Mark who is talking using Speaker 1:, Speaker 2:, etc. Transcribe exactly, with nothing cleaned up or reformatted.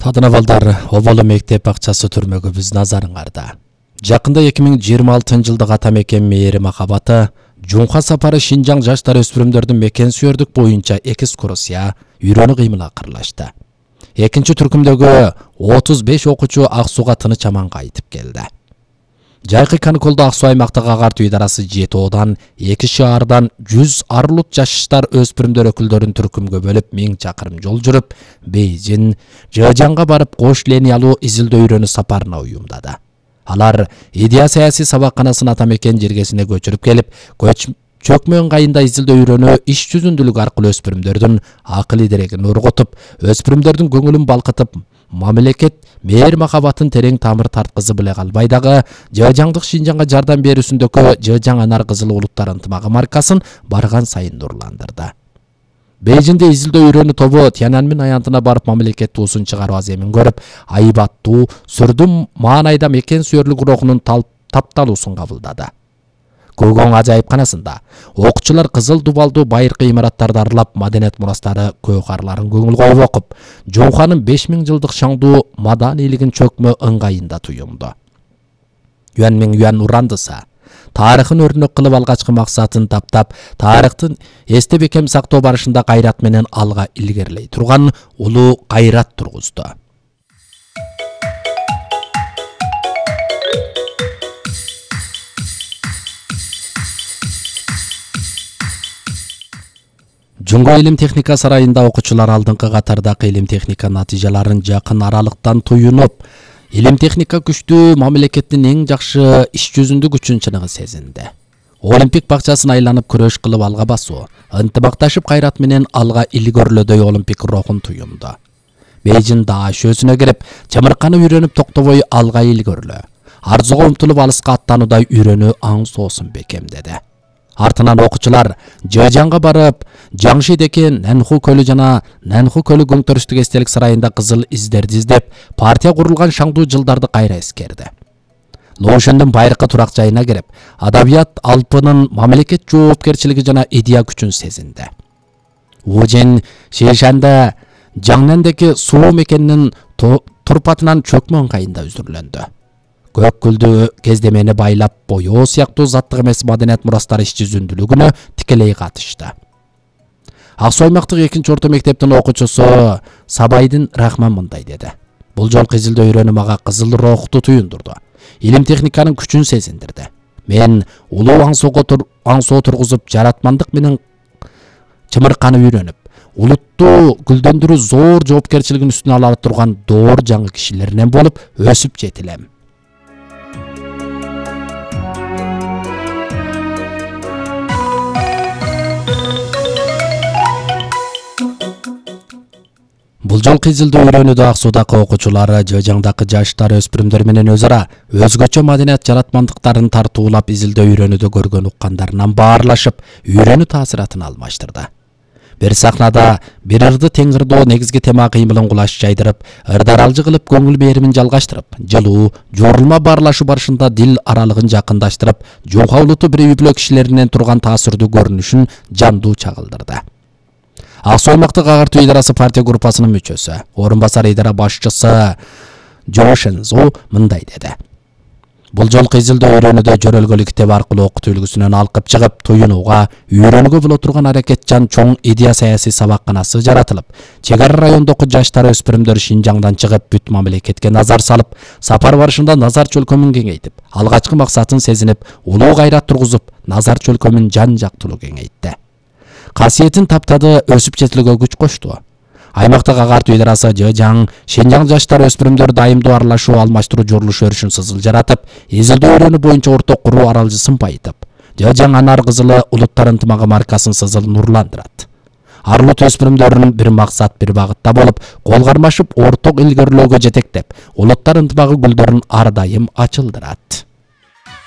Speaker 1: Адына балдар, Оболу мектеп бакчасы түрмөгүбүз назарыңарда. Жакында эки миң жыйырма алтынчы жылдык ата мекен мээри махабаты Жумха сапары Шинжаң жаштар өспүрүмдөрдүн мекен сүйөрдүк боюнча экскурсия үйрөнүү кыймыл акырлашты. Экинчи түркүмдөгү отуз беш окуучу Ак Сууга тыныч аман кайтып келди. Жайкы каникулда Ак Суу аймактык агартуу идарасы жети Одан, эки шаардан жүз арлут жаштар өспүрүмдөр өкүлдөрүн түркүмгө бөлүп миң чакырым жол жүрүп, Бейжин, Жыжаңга барып кош линиялуу изилдөө үйрөнүү сапарына уюмдады. Алар идея саясий сабакканасын ата мекен жергесине көчүрүп келип, көч чөкмө ыңгайында изилдөө үйрөнүү иш жүзүндүүлүк аркылуу өспүрүмдөрдүн акыл идерегин ургутуп, өспүрүмдөрдүн көңүлүн балкытып, мамлекет мээр махабатын терең тамыр тарткызы биле калбай дагы Жыжаңдык Шинжаңга жардам берүүсүндөгү Жыжаң Анар Кызыл улуттар ынтымагы маркасын барган сайын нурландырды. Бейжинде изилдөө үйрөнүү тобу Тяньаньмин аянтына барып мамлекет туусун чыгаруу аземин көрүп, айбаттуу, сүрдүм маанайда мекен сүйөрлүк рухунун тапталуусун кабылдады. Көгөң ажайыпканасында окуучулар кызыл дубалдуу байыркы имараттарды аралап, маданият мурастары көкарларын көңүл коюп окуп, Жумханын беш миң жылдык шаңдуу маданийлигин чөкмө ыңгайында туюмду. Юанмиң Юан урандыса, тарыхын өрнөк кылып алгачкы максатын таптап, тарыхтын эстеп бекем сактоо барышында кайрат менен алга илгерилей турган улуу кайрат тургузду. Жумга илим техника сарайында окуучулар алдыңкы катардагы илим техника натыйжаларын жакын аралыктан туюнуп, илим техника күчтүү мамлекеттин эң жакшы иш жүзүндө күчүн чыныгы сезинди. Олимпик бакчасын айланып күрөш кылып алга басуу, ынтымакташып кайрат менен алга илгөрлөдөй олимпик рухун туюмду. Бейжин даа шөөсүнө кирип, чымырканы үйрөнүп токтобой алга илгөрлөө, арзуга умтулуп алыска аттануудай үйрөнүү аң соосун бекемдеди. Артынан окуучулар Жыжаңга барып, Жаңшидеки Нанху көлү жана Нанху көлү көңтөрүштүк эстелик сарайында кызыл издерди издеп, партия курулган шаңдуу жылдарды кайра эскерди. Лоушендин байыркы турак жайына кирип, адабият алпынын мамлекет жоопкерчилиги жана идея күчүн сезинди. Ужин Шишанда Жаңнандеки суу мекенинин турпатынан чөкмө ыңгайында үзүрлөндү. Көк күлдү кездемени байлап, боёо сыяктуу заттык эмес маданият мурастары иш жүзүндүүлүгүнө тикелей катышты. Ак Суу аймактык экинчи орто мектептин окуучусу Сабайдын Рахман мындай деди. Бул жолку изилдөө үйрөнүү мага кызыл рухту туюндурду. Илим техниканын күчүн сезиндирди. Мен улуу аң соого аң соо тургузуп, жаратмандык менен чымырканы үйрөнүп, улутту гүлдөндүрүү зор жоопкерчилигин үстүнө ала турган доор жаңы кишилеринен болуп өсүп жетилем. Бул жолку изилдөө үйрөнүүдө Ак Суудагы окуучулар Жыжаңдагы жаштар өспүрүмдөр менен өз ара өзгөчө маданият жаратмандыктарын тартуулап изилдөө үйрөнүүдө көргөн уккандарынан баарлашып, үйрөнүү таасиратын алмаштырды. Бир сахнада бир ырды тең ырдоо негизги тема кыймылын кулаш жайдырып, ырдаралжы кылып көңүл беримин жалгаштырып, жылуу, жорулма баарлашуу барышында дил аралыгын жакындаштырып, Жумха улуту бир үй-бүлө кишилеринен турган таасирдүү көрүнүшүн жандуу чагылдырды. Ак Суу аймактык агартуу идарасы партия группасынын мүчөсү, орун басар идара башчысы Жо Шензо мындай деди. Бул жолку изилдөө үйрөнүүдө жөрөлгөлүк китеп аркылуу окутуу үлгүсүнөн алкып чыгып, туюнууга, үйрөнүүгө боло турган аракетчан чоң идея саясий сабакканасы жаратылып, чек ара райондогу жаштар өспүрүмдөр Шинжаңдан чыгып, бүт мамлекетке назар салып, сапар барышында назар чөлкөмүн кеңейтип, алгачкы максатын сезинип, улуу кайрат тургузуп, назар чөлкөмүн жан жактылуу кеңейтти. Касиетин таптады, өсүп жетилүүгө күч кошту. Аймактык агартуу идарасы Жыжаң, Шинжаң жаштар өспүрүмдөр дайымдуу аралашуу, алмаштыруу журулуш өрүшүн сызыл жаратып, изилдөө үйрөнүү боюнча орток куруу аралжысын байытып, Жыжаң Анар Кызылы улуттар ынтымагы маркасын сызыл нурландырат. Арлут өспүрүмдөрүн бир максат, бир багытта болуп, кол кармашып, орток илгөрлөөгө жетектеп, улуттар ынтымагы гүлдөрүн ар дайым ачылдырат.